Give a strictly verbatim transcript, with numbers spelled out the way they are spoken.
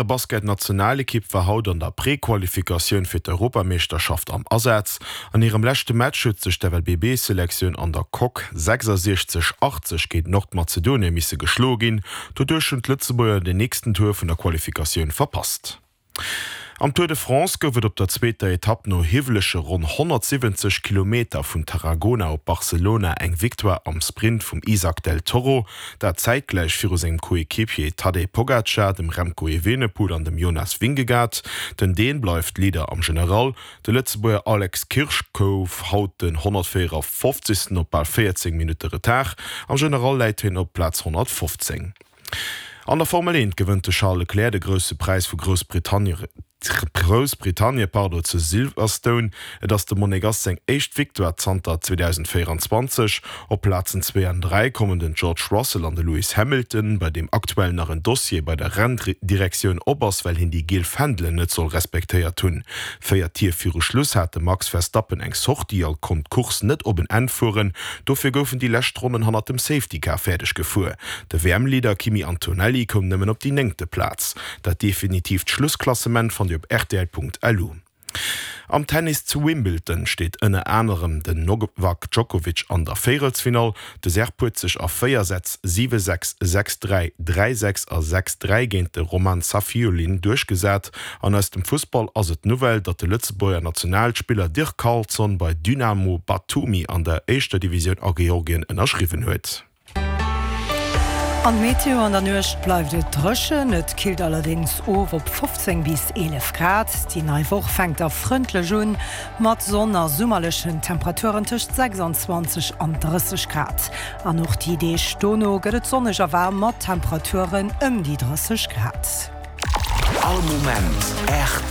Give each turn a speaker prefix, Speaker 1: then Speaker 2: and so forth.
Speaker 1: Basketnationalekipp war haut an der Prequalifikatioun fir d'Europameeschterschaft am Asaz. An hirem leschte Match huet sech d'F L B B-Selektioun an der Coque sechsasiechzeg achtzeg géint Nordmazedonie misse geschloe ginn. Doduerch hunn d'Lëtzebuerger den nächsten Tour vun der Qualifikatioun verpasst. Am Tour de France gouf et op der zweeter Etapp no hiwwelege ronn honnertsiwwenzeg Kilometer vun Tarragona op Barcelona eng Victoire am Sprint vum Isaac del Toro, dat zäitgläich viru sengem Coéquipier Tadej Pogacar, dem Remco Evenepoel an dem Jonas Vingegaard. Den Dän bleift Leader am General. De Lëtzebuerger Alex Kirsch gouf haut den honnertvéierefofzegsten op bal véierzéng Minutte Retard. Am General läit hien op Plaz honnertfofzéng. An der Formel eent gewënnt de Charles Leclerc de Grousse Präis vu Groussbritannien Groussbritannie pardon, zu Silverstone. Et ass dem Monegass seng éischt Victoire zanter zweedausendvéierenzwanzeg. Op Plazen zwee an dräi kommen den George Russell an de Lewis Hamilton, bei deem aktuell nach en Dossier bei der Renndirektioun op ass, well hien déi giel Fändelen net soll respektéiert hunn. Véier Tier viru Schluss hat de Max Verstappen eng Sortie a konnt d'Course net op en Enn fueren. Dofir goufen déi lescht Ronnen hannert dem Safety Car fäerdeg gefuer. De W M-Leader Kimi Antonelli koum nëmmen op déi néngte Plaz. Dat definitiivt Schlussklassement fannt Dir op R T L Punkt L U. Am Tennis zu Wimbledon steet ënner anerem den Novak Djokovic an der Véierelsfinall. De Serb huet sech a véier Sätz siwe sechs, sechs dräi, dräi sechs a sechs dräi géint de Roman Safiullin duerchgesat. An aus dem Fussball ass et d'Nouvelle, datt de Lëtzebuerger Nationalspiller Dirk Carlson bei Dynamo Batumi an der éischter Divisioun a Georgien ënnerschriwwen huet.
Speaker 2: An d'Meteo: An der Nuecht bleift et dréchen, et killt allerdéngs of op fofzéng bis eelef Grad. Déi nei Woch fänkt da frëndlech un, mat Sonn a summerlechen Temperaturen tëscht sechsanzwanzeg an drësseg Grad. An och déi Deeg dono gëtt et sonneg a waarm mat Temperaturen ëm déi drësseg Grad.
Speaker 3: All Moment R T L.